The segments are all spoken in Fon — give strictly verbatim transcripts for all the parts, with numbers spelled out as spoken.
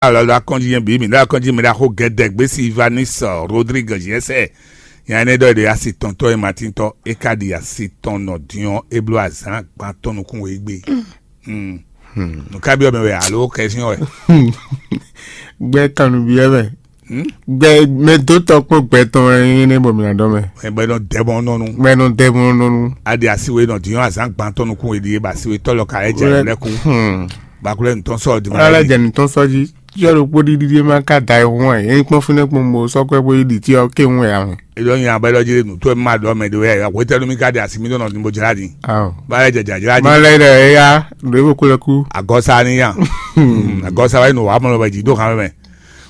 alɔ ɖo akɔnjí nyɛ bǐ mǐ ɖo akɔnjí mǐ ɖo axó gɛdɛ gbé Silvanus Rodrigue Jɛsɛ. Nya énɛ́ ɖɔ ɖe asi tɔntɔ́ e Matín tɔ́ é ka ɖi asi tɔn nɔ din ɔ́ é bló azǎn gban tɔn nukún we gbé. Nǔ ká byɔ́ mɛ wɛ alo kɛsyɔ́n wɛ? Gbɛ kannubiɛ mɛ. Gbɛ mɛ dó tɔkpɔn gbɛ tɔn wɛ nyí nɛ bɔ mǐ ná dɔ mɛ. Mɛ bɔ nɔ dɛ bɔ nɔnu. Mɛ nɔ dɛ bɔ nɔnu. A ɖi asi we nɔ din ɔ́ azǎn gban tɔn nukún we ɖi é ba asi we tɔ́ lɔ ka lɛ jɛ lɛ kú. Bakulɛ ntɔn sɔ di ma. Ala jɛ nutɔn sɔ dzi. Yɔ ɖo kpó ɖiɖi ɖe ma ka da ihun wɛ. Yɛn kpɔn fínɛ kpɔn mo sɔkɔ bó yi ɖi tí ɔ ké hun wɛ amɛ. Eɖɔ nyi abɛ ɖɔ dzi nu tó ma ɖɔ mɛ ɖe wɛ. Wetɛnu mi ka ɖi asi mi ɖɔ nɔ bo jla di. Awɔ. Ba yɛ jɛ jajla di. Ma lɛ ɖe eya ɖo ebo kó lɛ kú. Agɔsa ni yan. Agɔsa wa yi nu wa mɔ lɔ bɛ dzi do kan mɛ.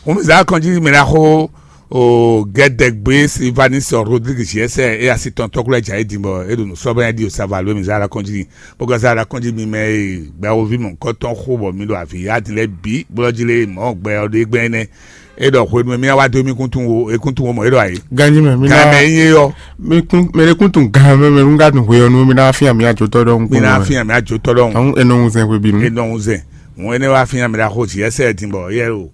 Ŋun mi zan kɔn jí mi na xo o gɛdɛgbe Silvanus Rodrigue Jɛsɛ e asi tɔn tɔkulɛ dza yi din bɔ e ɖo nu sɔbɛ di o sava lo mi zan la kɔn jí. Bó ka zan la kɔn jí mi mɛ e gbɛwovi mɔ kɔtɔn xo bɔ mi ɖo avi ya din lɛ bi blɔ jí le mɔ gbɛ ɔ ɖe gbɛ nɛ. E ɖɔ hwenu mi wa do mi kuntun wo e kuntun wo mɔ e ɖɔ ayi. Ganji mɛ mi Kan na mɛ ye yɔ. Mi kun mɛ de kun tun gan mɛ mɛ nu ka tun hwe ɔ nu mi na fi ami atsotɔ dɔ nkun. Mi na fi ami atsotɔ dɔ nkun. Àwọn enɔ ŋun zɛn hwe binu. Enɔ ŋun zɛn. Ŋun ene wa fi ami la xo zi ɛsɛ din bɔ yɛ o.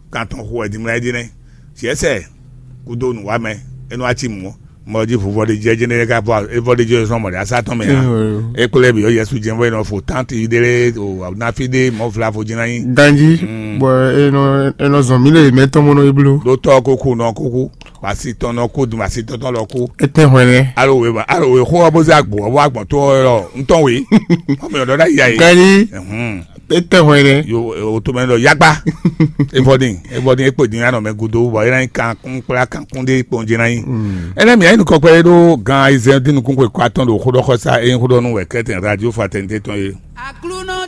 Kan tɔn xo ɛdin mla ɛdin nɛ. Zi ɛsɛ kudo nu wa mɛ. Enu atsi mu. Mɔ dzi vuvɔ de jɛ jɛ ne ka vɔ evɔ de jɛ sɔn mɔ de asa tɔn mɛ ya. E kple bi yɔ yɛsu jɛ vɔ enɔ fo tanti de le o na fi de mɔ fla fo jina yi. Ganji bɔ enɔ enɔ zɔn mi le mɛ tɔn mɔnɔ iblu. Ɖo tɔ koko nɔ koko. Wasi tɔn nɔ ko dun wasi tɔn tɔn lɔ ko. Etɛ hwɛ nɛ. Alo we ba alo we xo ɔbɔ zɛ agbo ɔbɔ agbɔn to ɔyɔ ntɔn we. Ɔmɛ yɔ dɔ da ya ye. Ganji. Etɛ hwɛ nɛ. Yo o to mɛ dɔ yagba. Evɔdin evɔdin ekpe din anɔ mɛ gudo bɔ yɛrɛ kan kun kpla kan kun de kpɔn jɛ na yi. Ɛnɛ mi ayi nukɔ kpɛ ɖo gan ayizɛn din nukun kwe kɔ atɔn ɖo xodɔ xɔsa eyin xodɔ nu wɛ kɛtɛn radio fraternité tɔn ye. Aklúnɔ